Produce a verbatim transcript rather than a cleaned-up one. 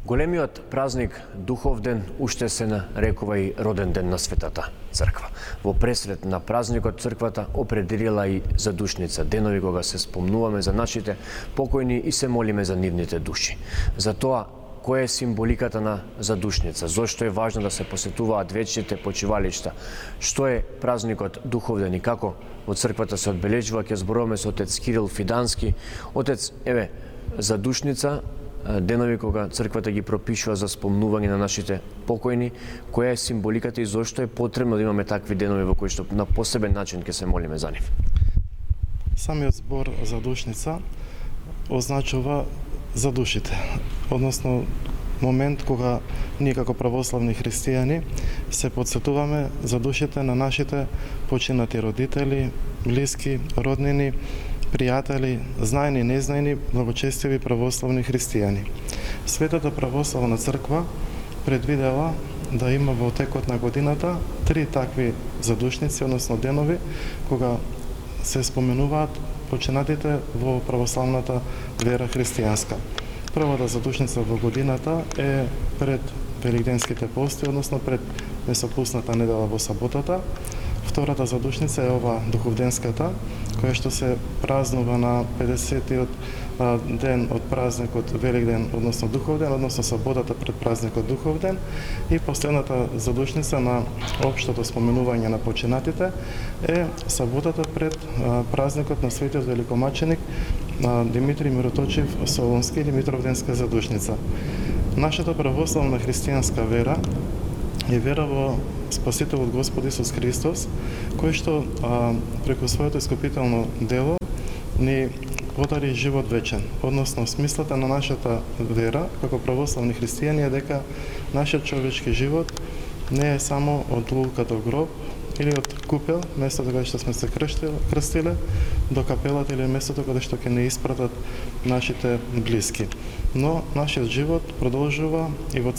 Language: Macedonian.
Големиот празник Духовден уште се нарекува и роден ден на Светата Црква. Во пресред на празникот Црквата определила и задушница, денови кога се спомнуваме за нашите покојни и се молиме за нивните души. За тоа, која е символиката на задушница, зошто е важно да се посетуваат вечните почивалишта, што е празникот Духовден и како во Црквата се одбележува, ќе зборуваме со отец Кирил Фидански. Отец, еве, задушница, денови кога Црквата ги пропишува за спомнување на нашите покојни, која е символиката и зошто е потребно да имаме такви денови во кои што на посебен начин ќе се молиме за нив? Самиот збор задушница означува за душите, односно момент кога ние како православни христијани се подсетуваме за душите на нашите починати родители, блиски, роднини, пријатели, знаени и незнаени, благочестиви православни христијани. Светата православна црква предвидела да има во текот на годината три такви задушници, односно денови, кога се споменуваат починатите во православната вера христијанска. Првата задушница во годината е пред великденските пости, односно пред месопусната недела во саботата. Втората задушница е ова духовденската, која што се празнува на педесетиот ден од празникот Великден, односно Духовден, односно саботата пред празникот Духовден. И последната задушница на општото споменување на починатите е саботата пред празникот на светиот великомаченик Димитри Мироточив Солунски или Митровденска задушница. Нашата православна христијанска вера е вера во Спасителот Господ Исус Христос, кој што а, преку своето искупително дело ни подари живот вечен. Односно, смислата на нашата вера, како православни христијани, е дека нашиот човечки живот не е само од лулката гроб или од купел, местото каде што сме се крстиле, до капелата или местото каде што ќе не испратат нашите блиски. Но нашиот живот продолжува и во